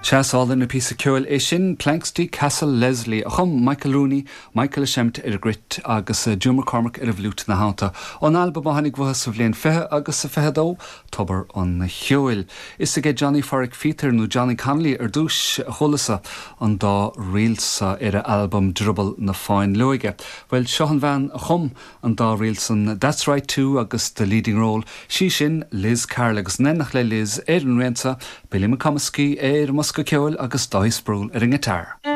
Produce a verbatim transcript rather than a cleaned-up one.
Is álainn an píosa ceoil é sin Planxty Castle Leslie a chum Michael Rooney, Michael Semt ar an gcruit agus eh, Joe McCormack ar an bhfliúit ina theannta. Ón albam a tháinig uathu sa bhliain fiche agus sa fiche dó Tobar an Cheoil. Is aige Johnny Phádraic Phíotair nó Johnny Connolly ar dtús a chualas an dá ríl sa ar a albam Drioball na Fáinleoige. Well seo an bhean a chum an dá ríl san That's Right Too agus the leading role. Sí sin Liz Carroll agus in éineacht le Liz ar an rince, Billy McComiskey ar an mbosca ceoil agus Dáithí Sproule ar an ngiotár.